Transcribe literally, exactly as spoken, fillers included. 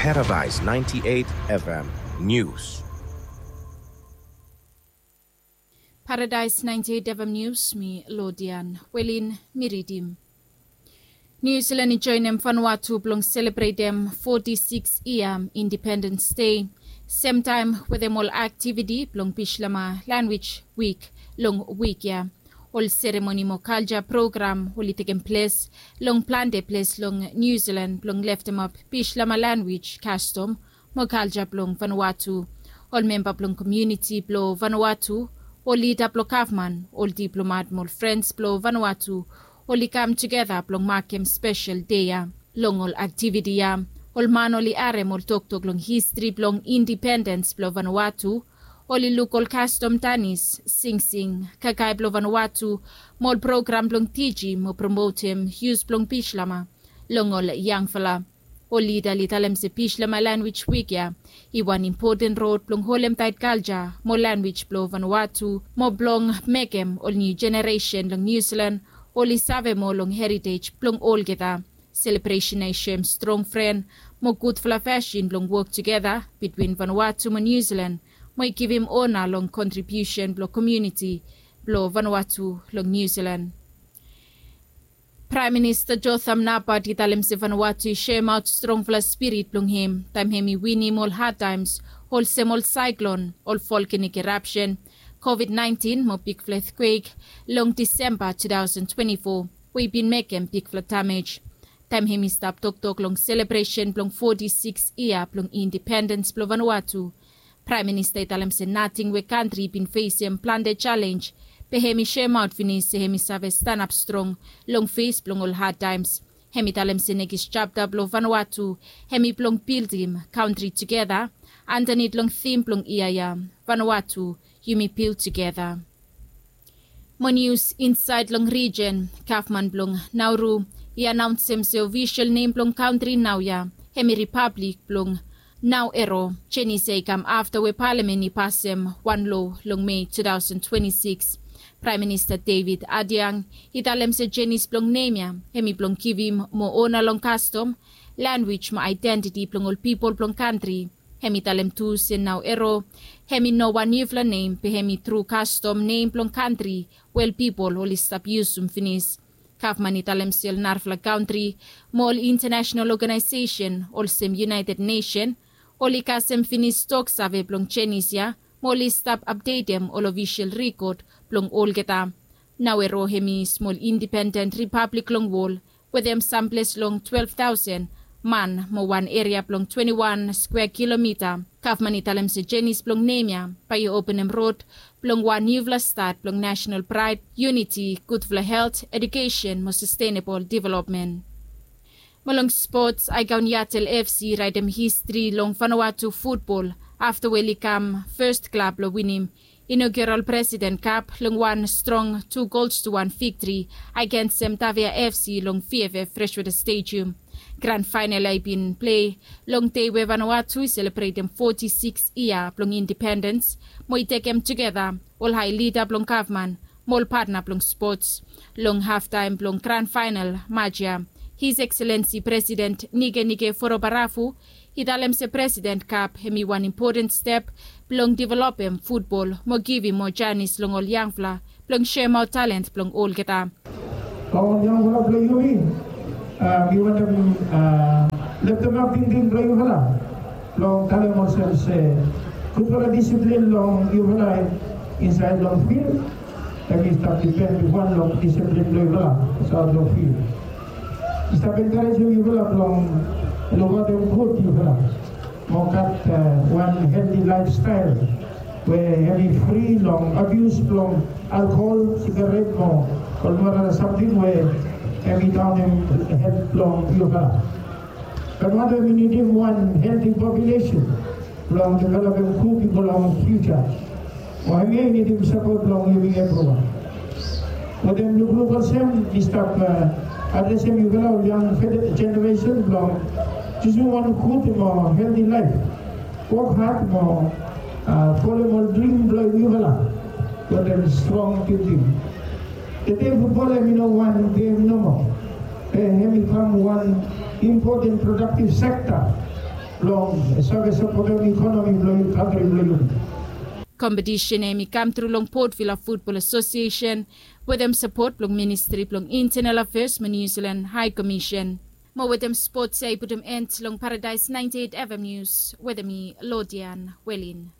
Paradise ninety-eight F M News. Paradise ninety-eight F M News, mi Lodian Welin, mi ridim. New Zealand i joenem Vanuatu blong selebretem foti sikis yia Independence Day, semtaem wetem ol aktiviti blong Bislama Lanwij Wik long wik ya. Ol seremoni mo kalja program oli tekem ples long plante ples long New Zealand blong leftemap Bislama lanwij, kastom mo kalja blong Vanuatu. Ol memba blong komuniti blong Vanuatu, ol lida blong gavman, ol diplomat mo ol frens blong Vanuatu oli kam tugeta blong makem spesel dei ya. Long ol aktiviti ya, ol man oli harem ol toktok long histri blong indipendens blong Vanuatu, oli luk ol kastom danis, singsing, kakae blong Vanuatu, mo ol program blong tijim mo promotem yus blong Bislama long ol yangfala. Ol lida oli talem se Bislama Lanwij Wik ya i wan impoten rod blong holem taet kalja mo lanwij blong Vanuatu mo blong mekem ol niu jeneresen long New Zealand oli save moa long heritej blong olgeta. Selebresen ya i soem strong fren mo gudfala fasin blong wok tugeta bitwin Vanuatu mo New Zealand mo i givim ona long kontribiusen blong komuniti blong Vanuatu long New Zealand. Praem Minista Jotham Napat i talem se Vanuatu i soemaot strongfala spirit blong hem taem hem i winim ol hadtaems olsem ol saeklon, ol volkanik erapsen, kovid naentin mo bigfala etkwek long Disemba two thousand twenty-four we i bin mekem bigfala damej. Taem hem i stap toktok long selebresen blong foti sikis yia blong indipendens blong Vanuatu, Praem Minista i talem se nating we kantri i bin fesem plante jalenj, be hem i soemaot finis se hem i save stanap strong long fes blong ol hadtaems. Hem i talem se nekis japta blong Vanuatu hem i blong bildim kantri tugeta andanit long tim blong yia ya, Vanuatu, yumi bil tugeta. Mo nius insaed long rijen, gavman blong Nauru i anaonsem se ofisol nem blong kantri naoia hem i Ripablik blong Naoero. Jenis ya i kam afta we palamen i pasem wan loa long Mei two thousand twenty-six. Praem Minista David Ardang i talem se jenis blong nem ya hem i blong givim moa ona long kastom, lanwij mo aedentiti blong ol pipol blong kantri. Hem i talem tu se Naoero hem i no wan niufala nem, be hem i tru kastom nem blong kantri we ol pipol oli stap yusum finis. Gavman i talem se ol narafala kantri mo ol intanasenal oganaesesen olsem United Nesen oli kasem finis toksave blong jenis ya mo oli stap apdetem ol ofisol rikod blong olgeta. Naoero hem i smol indipenden ripablik long wol wetem samples long twelve thousand man mo wan eria blong twenty-one skwea kilomita. Gavman i talem se jenis blong nem ya bae i openem rod blong wan niufala stat blong nasenal praed, yuniti, gudfala helt, edukesen mo sastenabol developmen. Mo long spots, Aegon Yatel F C i raetem histri long Vanuatu futbol afta we oli kam fes klab blong winim inaugural President Cup long wan strong tu gols tu wan viktri agensem Tavia F C long V F F Freshwater Stadium. Gran faenal ya i bin plei long dei we Vanuatu i selebretem foti sikis yia blong indipendens mo i tekem tugeta ol hae lida blong gavman mo ol patna blong spots. Long haftaem blong gran faenal Maj ya, His Excellency President Nikenike Vurobaravu i talem se President Cup hem i wan impoten step blong developem futbol mo givim moa janis long ol yangfala blong soemaot talent blong olgeta. Long ol yangfala blong yumi, a, mi wantem, a, leftemap tingting blong yufala blong talem olsem se gudfala disiplin blong yufala insaed long fil hem i stap dipen bifo long disiplin blong yufala aotsaed long fil. Mi stap enkarejem yufala blong lukaotem gud yufala mo gat, a, wan helti laefstael we hem i fri long abius blong alkohol, sigaret mo ol narafala samting we hem i daonem helt blong yufala. Vanuatu hem i nidim wan helti populesen blong developem gud i go long fiuja. Mo hemia i nidim sapot blong yumi evriwan. Wetem lukluk olsem mi stap, a, adresem yufala ol yang jeneresen blong jusum wan gud mo helti laef. Wok had mo, a, folem ol drim blong yufala wetem strong tingting. Tede futbol hem i no wan gem nomo, be hem i kam wan impoten prodaktiv sekta Long service of problem economy blong you country blong you. Kompetisen ya i kam tru long Port Vila Football Association wetem sapot blong Ministri blong Internal Affairs mo New Zealand High Commission. Mo wetem spots ya i putum end long Paradise ninety eight F M News wetem mi Lodian Welin.